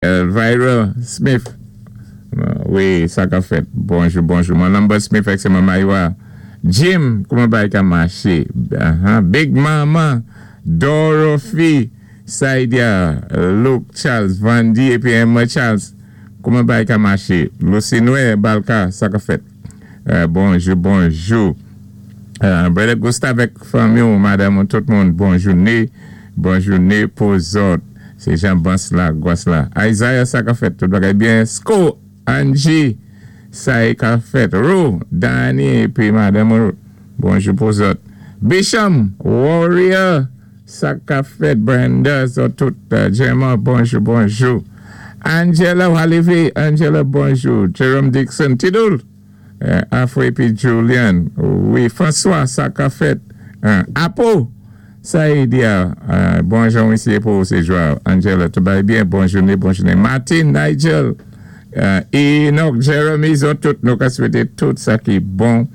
Elvira Smith, wi, sa ka fèt? Bonjou, bonjou. Man Lambert Smith ak se Mama Iwa. Jim, kouman bagay ka maché? Big Mama, Dorothy, Saidia, Luke Charles, Vandy épi Emma Charles, kouman bagay ka maché? Lucinue Balka, sa ka fèt? Bonjou, bonjou. Brother Gustave ak fanmi ou, madanm ou, tout moun, bon jouné, bon jouné pou zòt. Se Jean Bans la, Gwas la. Isaiah sa ka fèt? Tout bagay byen? Sko, Angie, sa e ka fèt? Rou, Dany épi madanm ou, bonjou pou zòt. Bisham, Warrior, sa ka fèt? Brenda, zòt tout, Gemma, bonjou, bonjou. Angela Walivi, Angela, bonjou. Jerome Dixon, Tidoul, Afro épi Julian, wi. François, sa ka fèt? Apo, sa e di a, bon jan wi se pou se jwa. Angela, tout bagay byen? Bon jouné, bon jouné. Martin, Nigel, Enoch, Jeremy, zòt tout nou ka swété tout sa ki bon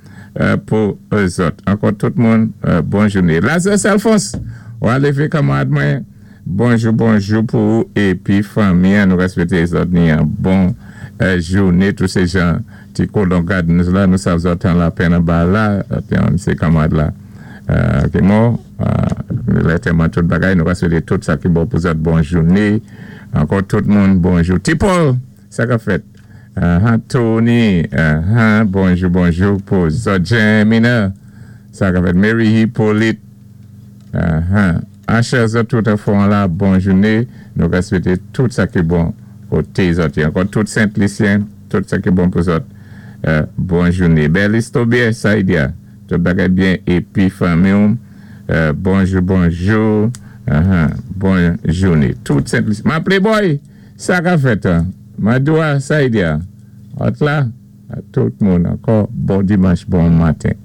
pou zòt. Ankò tout moun, bon jouné. Lazarus Alphonse, wa lévé kanmarad mwen. Bonjou bonjou pou ou epi fanmi an nou respekte zòt ni an bon joune tou se jan ti kolon gardens la nou sav zòt an lapenn anba la yon se kanmarad la ki mò lè tèman tout bagay nou respekte tout sa ki bon pou zòt bon joune ankò tout moun bonjou ti Paul sa kap fèt ahan Tony ahan bonjou bonjou pou zòt Jemina sa kap fèt Mary Hyppolite ahan. Asher zòt tout anfòm la bon joune nou ka swete tout sa ki bon kote zòt ye ankò tout sent lisyen tout sa ki bon pou zòt bon joune Berlis Tobier Saidia tout bagay byen epi fanmiw bonjou bonjou bon joune tout sent lisyen ma playboy sa ka fèt Madoua Saidia òt la tout moun ankò bon dimanch bon maten.